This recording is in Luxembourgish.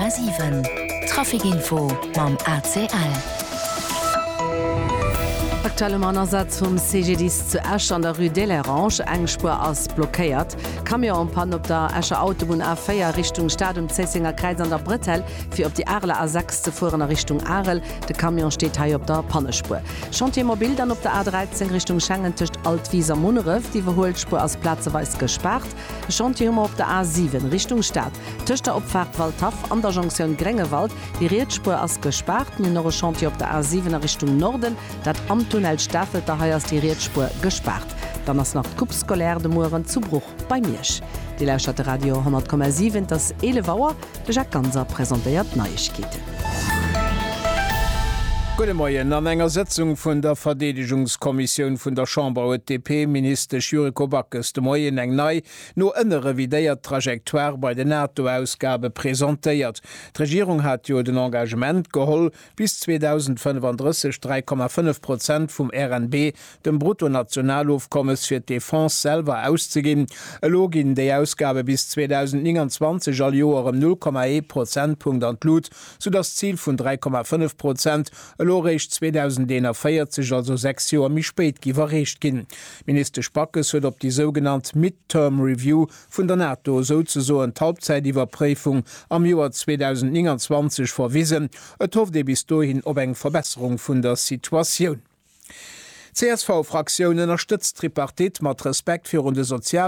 100,7 Trafic Info mam ACL. Aktuell um Asaz vum CGDIS zu Esch an der Rue d'Hélérange. Eng Spuer ass blockéiert. Camion en panne op der Escher Autobunn A4 Richtung Stad um Zéissenger Kräiz an der Bretelle fir op déi Areler A6 ze fueren a Richtung Arel. De Camion steet hei op der Pannespuer. Chantier mobile dann op der A13 Richtung Schengen tëscht Altwis a Munneref. D'Iwwerhuelspuer ass plazeweis gespaart. E Chantier hu mer op der A7 Richtung Stad, tëscht der Opfaart Waldhaff an der Jonktioun Gréngewald. Déi riets Spuer ass gespaart. Mir hunn och e Chantier op der A7 a Richtung Norden, dat am Tunnel Stafelter. Hei ass déi riets Spuer gespaart. Dann ass nach d'Coupe scolaire de Mueren zu Bruch bei Miersch. Dir lauschtert de Radio 10,7. Et ass 11 Auer. De Jacques Ganser presentéiert d'Neiegkeeten. Gudde Moien. An enger Sëtzung vun der Verdeedegungskommissioun vun der Chamber huet d'DP-Ministesch Yuriko Backes de Moien eng nei, no ënne revidéiert Trajectoire bei den NATO-Ausgabe presentéiert. D'Regierung hat jo den Engagement geholl, bis 2035 3,5 Prozent vum RNB, dem Bruttonationalofkommes, fir d'Defense selwer auszeginn. Elo ginn déi Ausgabe bis 2029 all Joer ëm 0,1 Prozentpunkt an d'Lut, soudass d'Zil vun 3,5 Prozent elo eréischt 2041, also 6 Joer méi spéit, géif erreecht ginn. D'Ministesch Backes huet op déi sougenannt Mid-Term Review vun der NATO, souzesoen d'Halbzäitiwwerpréifung am Joer 2029 verwisen. Et hofft ee bis dohin op eng Verbesserung vun der Situatioun. D'CSV-Fraktioun ënnerstëtzt d'Tripartite mat Respekt virun de Sozial.